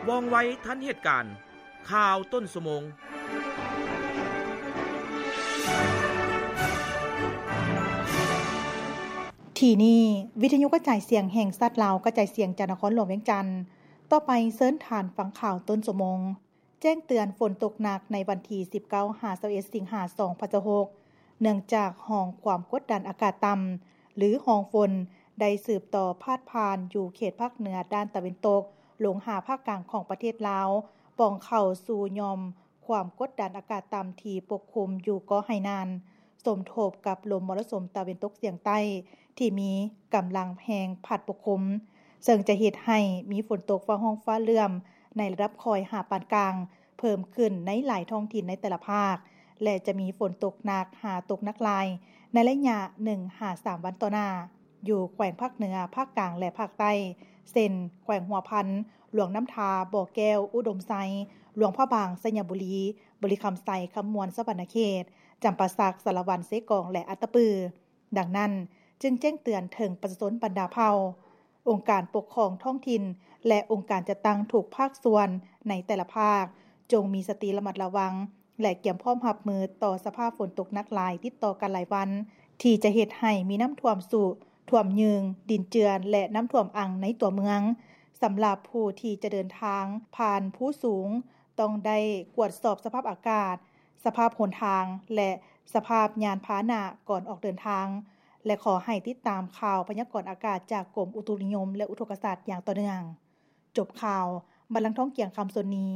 ວ່ອງໄວທັນເຫດການ. ຂ່າວຕົ້ນຊົ່ວໂມງ. ທີ່ນີ້ ວິທະຍຸກະຈາຍສຽງແຫ່ງຊາດລາວ ກະຈາຍສຽງຈາກນະຄອນຫຼວງວຽງຈັນ. ຕໍ່ໄປເຊີນທ່ານຟັງຂ່າວຕົ້ນຊົ່ວໂມງ. ແຈ້ງເຕືອນຝົນຕົກໜັກໃນວັນທີສິບເກົ້າຫາຊາວເອັດ ສິງຫາ ສອງພັນຊາວຫົກ ເນື່ອງຈາກຮ່ອງຄວາມກົດດັນອາກາດຕ່ຳ ຫຼື ຮ່ອງຝົນ ໄດ້ສືບຕໍ່ພາດຜ່ານຢູ່ເຂດພາກເໜືອດ້ານຕາເວັນຕົກ ລົງຫາພາກກາງຂອງປະເທດລາວ, ປ່ອງເຂົ້າສູ່ຫຍ່ອມຄວາມກົດດັນອາກາດຕ່ຳທີ່ປົກຄຸມຢູ່ເກາະໄຫໜານ, ສົມທົບກັບລົມມໍລະສຸມຕາເວັນຕົກສຽງໃຕ້ທີ່ມີກຳລັງແຮງພັດປົກຄຸມ, ເຊິ່ງຈະເຮັດໃຫ້ມີຝົນຕົກຟ້າຮ້ອງຟ້າເຫຼື້ອມໃນລະດັບຄ່ອຍຫາປານກາງ ເພີ່ມຂຶ້ນໃນຫຼາຍທ້ອງຖິ່ນໃນແຕ່ລະພາກ ແລະ ຈະມີຝົນຕົກໜັກຫາຕົກໜັກຫຼາຍໃນໄລຍະໜຶ່ງຫາສາມວັນຕໍ່ໜ້າ ຢູ່ແຂວງພາກເໜືອ, ພາກກາງ ແລະ ພາກໃຕ້ ເຊັ່ນ ແຂວງຫົວພັນ, ຫຼວງນ້ຳທາ, ບໍ່ແກ້ວ, ອຸດົມໄຊ, ຫຼວງພະບາງ, ໄຊຍະບູລີ, ບໍລິຄຳໄຊ, ຄຳມ່ວນ, ສະຫວັນນະເຂດ, ຈຳປາສັກ, ສາລະວັນ, ເຊກອງ ແລະ ອັດຕະປື. ດັ່ງນັ້ນ, ຈຶ່ງແຈ້ງເຕືອນເຖິງປະຊາຊົນບັນດາເຜົ່າ, ອົງການປົກຄອງທ້ອງຖິ່ນ ແລະ ອົງການຈັດຕັ້ງທຸກພາກສ່ວນໃນແຕ່ລະພາກ ຈົ່ງມີສະຕິລະມັດລະວັງ ແລະ ກຽມພ້ອມຮັບມືຕໍ່ສະພາບຝົນຕົກໜັກຫຼາຍຕິດຕໍ່ກັນຫຼາຍວັນ ທີ່ຈະເຮັດໃຫ້ມີນ້ຳຖ້ວມຊຸ, ຖ້ວມຍືງ, ດິນເຈື່ອນ ແລະ ນ້ຳຖ້ວມອັ່ງໃນຕົວເມືອງ. ສຳລັບຜູ້ທີ່ຈະເດີນທາງຜ່ານພູສູງ ຕ້ອງໄດ້ກວດສອບສະພາບອາກາດ, ສະພາບຫົນທາງ ແລະ ສະພາບຍານພາຫະນະກ່ອນອອກເດີນທາງ ແລະ ຂໍໃຫ້ຕິດຕາມຂ່າວພະຍາກອນອາກາດຈາກກົມອຸຕຸນິຍົມ ແລະ ອຸທົກກະສາດຢ່າງຕໍ່ເນື່ອງ. ຈົບຂ່າວ, ບັນລັງທອງ ກຽງຄຳ ສ່ວນນີ້.